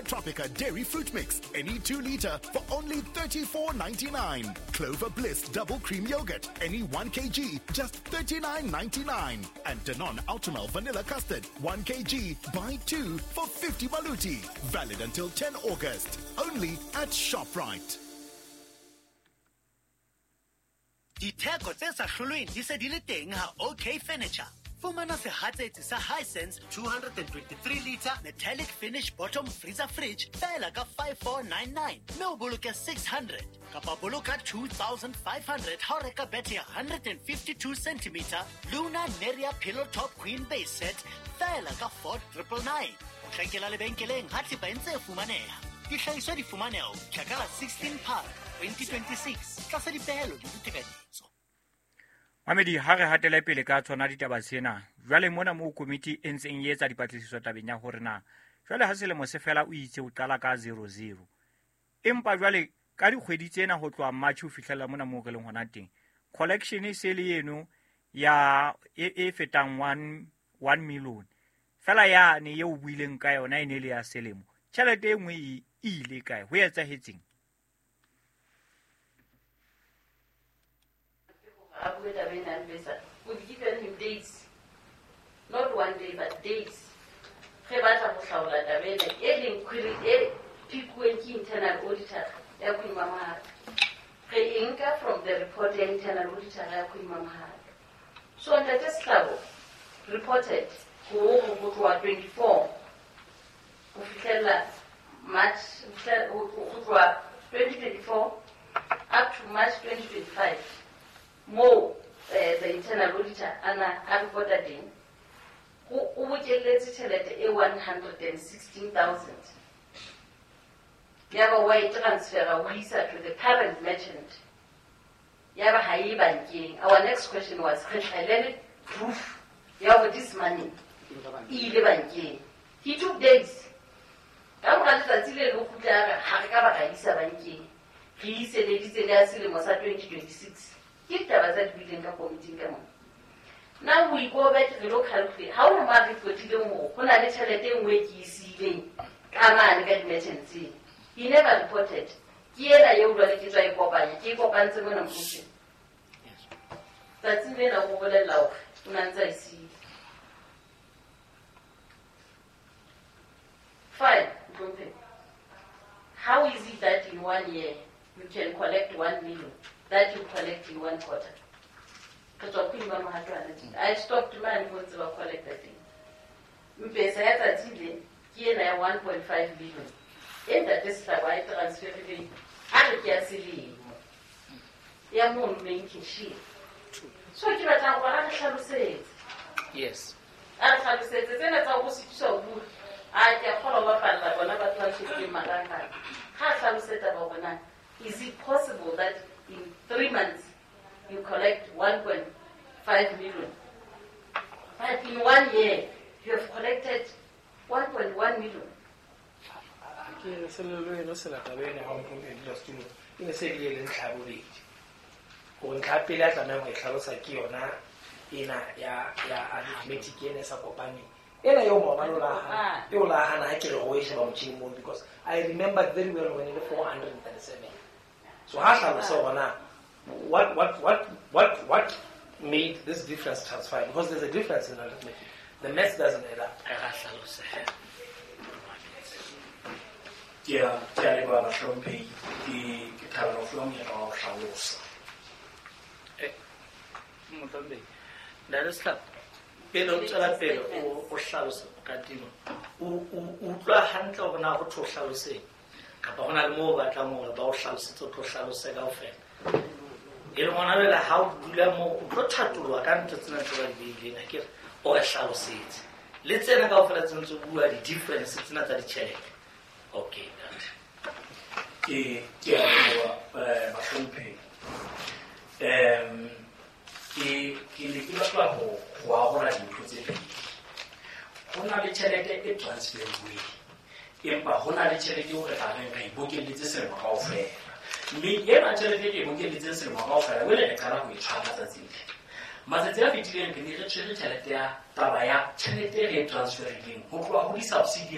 Tropica Dairy Fruit Mix, any 2 liter for only 34.99. Clover Bliss Double Cream Yogurt, any 1 kg, just 39.99. And Danone Ultramel Vanilla Custard, 1 kg, buy 2 for 50 maluti. Valid until 10 August. Only at ShopRite. Ditheko tse sa hlolweng di se di le teng ha OK Furniture. Fumana sehatsetsi sa Hisense 223 liter metallic finish bottom freezer fridge feela ka 5499 mme o boloke 600 kapa boloka 2500 ha o reka bethe ya 152 centimeter Luna Neria Pillow Top Queen Base Set feela ka 4999. Potlakela lebenkeleng ha thepa e ntse e fumaneha. Dihlahiswa di fumaneha ho fihla ka la 16 Phato 2026 tlasa dipehelo le ditekanyetso. Mamedi, ha re hatele pele ka tsona ditaba tsena. Jwale mona moo komiti e ntseng e etsa dipatlisiso tabeng ya hore na jwale ha selemo se fela o itse o qala ka 00. Empa jwale ka dikgwedi tsena ho tloha March ho fihlela mona moo re leng hona teng, collection e se le eno ya e fetang 1 million. Fela yane eo o buileng ka yona e ne le ya selemo. Tjhelete e nngwe e ile kae? Ho etsahetseng? We've given him dates, not one day, but dates. Re batla ho hlaola taba ena e leng query e pikuweng ke internal auditor ya Queen Mamohato. Re e nka from the report ya internal auditor ya Queen Mamohato. So Ntate Sehlabo reported ho tloha 24 ho fihlela March, ho tloha 2024 up to March 2025. Mo the internal auditor ana a reporta teng o bokelletse tjhelete e 116,000 yaba wa e transfera ho isa to the current merchant, yaba ha e bankeng. Our next question was, re tlhaelele proof ya hore this money e ile bankeng. He took days. Ka mora letsatsi le le kgutla a re ha re ka ba ra isa bankeng, re iseleditse le ya selemo sa 2026. Ke ditaba tsa di buileng ka komiting ka mona. Now we go back re lo calculate. Ha o ma reportileng hore ho na le tjhelete e nngwe ke e siileng ka mane ka di-merchants. He never reported. Ke ena eo jwale ke tswa e kopanya, ke e kopantse mona mmuso. Tsatsing lena o bolella hore o na ntse a e siile. Fine, Ntompe. How is it that in 1 year you can collect 1 million that you collect in 1 quarter? I stopped man who ntse ba collecta teng. Mpesa ya tsatsi le ke ena ya 1.5 billion. E Ntate Sehlabo a e transferileng a re ke ya selemo ya mono main cashier. So ke batla hore a re hlalosetse. Yes. A re hlalosetse tsena tsa ho sitisa ho bua. A ke a kgolwa ho bapalla bona batho ba shebileng marangrang. Ha a hlalosetsa ba hore na is it possible that in 3 months you collect 1.5 million, but in 1 year you have collected 1.1 million? Ke selelo eno se lata bene ha o mpone dilo stulo e ne se le le ntlha bobedi. Hore ntlha pele a tlamehang ho e hlalosa ke yona ena ya arithmetic ena e sa kopaneng. Ena eo maobane o la hana, eo la hana ha ke re ho e sheba motjhining mono, because I remember very well when e le 437. So ha hlalosa hore na what made this difference transpire, because there's a difference in arithmetic. The maths doesn't add up. Ke a leboha bahlomphehi, ke thabela ho fuwa monyetla wa ho hlalosa. Mohlomphehi, Ntate Sehlabo, pele o tswela pele o hlalosa kadimo, o utlwa hantle hore na ho thwe o hlaloseng kapa ho na le moo o batlang hore ba o hlalosetse, o tlo hlalose kaofela. E le hona jwale ha o dula moo o tlo thatoloha ka ntho tsena tse ba di beileng, ha ke re o re hlalosetse le tsena kaofela tse ntse o bua di-difference tsena tsa ditjhelete. Okay, ntate. Ke a leboha, bahlomphehi. Ke ne ke batla ho arola dintho tse pedi. Ho na le tjhelete e transferuweng, empa ho na le tjhelete eo re tla reng re e bokelletse selemo kaofela. Mme ena tjhelete e ke e bokelletseng selemo kaofela, jwale re qala ho e tshwara tsatsing le. Matsatsi a fetileng re ne re tshwere tjhelete ya taba ya tjhelete e re e transferileng ho tloha ho di-subsidy